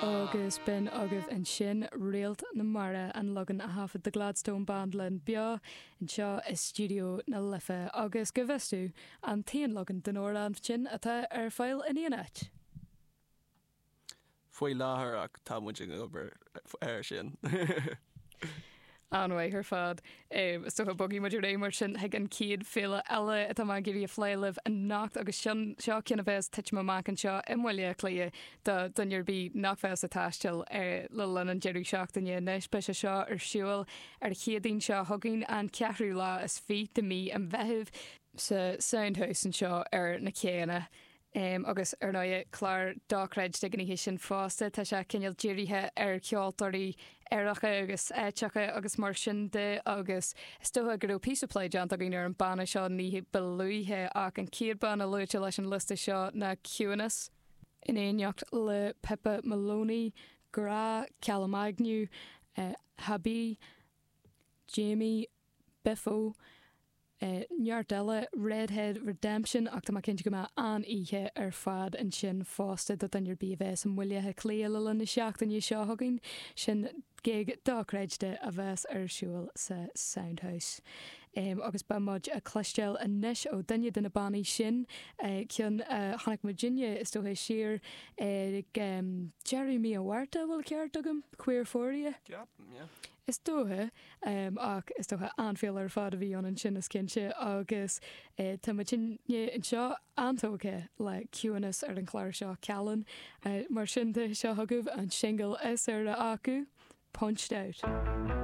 Agus b'in agaibh ansin Réalt na Mara, an leagan a thaifead The Gladstone Band linn beo anseo i Stiúideo na Life. Agus go bhfios domh, an t-aon leagan den amhrán sin atá ar fáil in aon áit. Faoi láthair ach tá muid ag obair air sin. An-mhaith ar fad. Is dócha bogfaidh muid ar aghaidh mar sin chuig an chéad féile eile atá mé ag iarraidh a phlé libh anocht agus sin seo ceann a bheas ag titim amach anseo i mBaile Átha Cliath do dhuine ar bith nach bheas ag taisteal le linn an deireadh seachtaine anois. Beidh sé seo ar siúl ar an Chéadaoin seo chugainn, an ceathrú lá is fiche de mí an Mheithimh, sa Soundhouse anseo ar na céanna. Agus, ar ndóigh, clár dochreidte ag an oíche sin fosta. Tá sé cineál dírithe ar cheoltóirí aeracha agus áiteacha agus mar sin de agus is dócha go raibh píosa plé déanta againn ar an banna seo ní ba luaithe ach an chéad banna luaite leis an liosta seo ná Ciúnas, in éineacht le Pippa Maloney, Grá, Calum Agnew, Habi, Jamie, Biffo, neart eile, Redhead Redemption ach tá mé cinnte go mbeidh an-oíche ar fad ansin fosta do dhuine ar bith a bheas i mBaile Átha Cliath le linn na seachtaine seo chugainn. Sin gig dochreidte a bheas ar siúl sa Soundhouse. Agus beidh muid ag cloisteáil anois ó duine de na bannaí sin, ceann a chonaic muidinne is dócha siar ag deireadh mí an Mhárta, an bhfuil an ceart agam? Queerphoria? Ceapaim, yeah. Is dócha. Ach is dócha an-fhéile ar fad a bhí ann ansin is cinnte agus tá muidinne anseo an-tógtha le Ciúnas ar an chlár seo, Callan. Mar sin de, seo chugaibh an singil is úire acu, Punched Out.